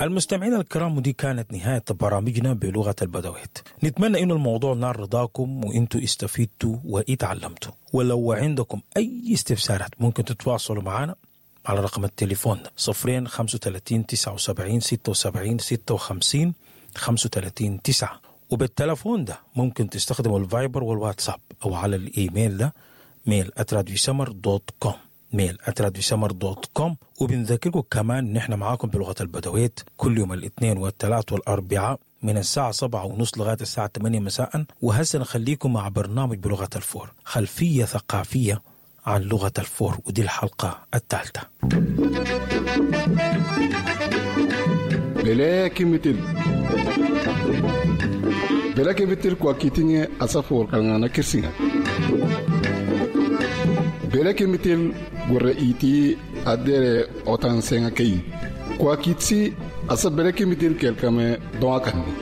المستمعين الكرام، ودي كانت نهاية برامجنا بلغة البدويت. نتمنى إنه الموضوع نال رضاكم وإنتوا استفدتوا وإتعلمتوا. ولو عندكم أي استفسارات ممكن تتواصلوا معنا على رقم التليفون 0 35 79 76 56 35 9. وبالتلفون ده ممكن تستخدموا الفايبر والواتساب، أو على الإيميل ده mail@radiosmr.com، mail@radiosmr.com. وبنذكركم كمان نحن معاكم بلغة البدويت كل يوم الاثنين والثلاث والأربعاء من الساعة 7:30 لغاية الساعة 8 مساء. وهسه نخليكم مع برنامج بلغة الفور، خلفية ثقافية عن لغة الفور، ودي الحلقة الثالثة. Bele kimitil bele kimitil kwa kitinye asafor kalngana kirsinga bele kimitil gurre iti adere otan senga kei kwa kitsi asa bele kimitil kelkame doa kanni.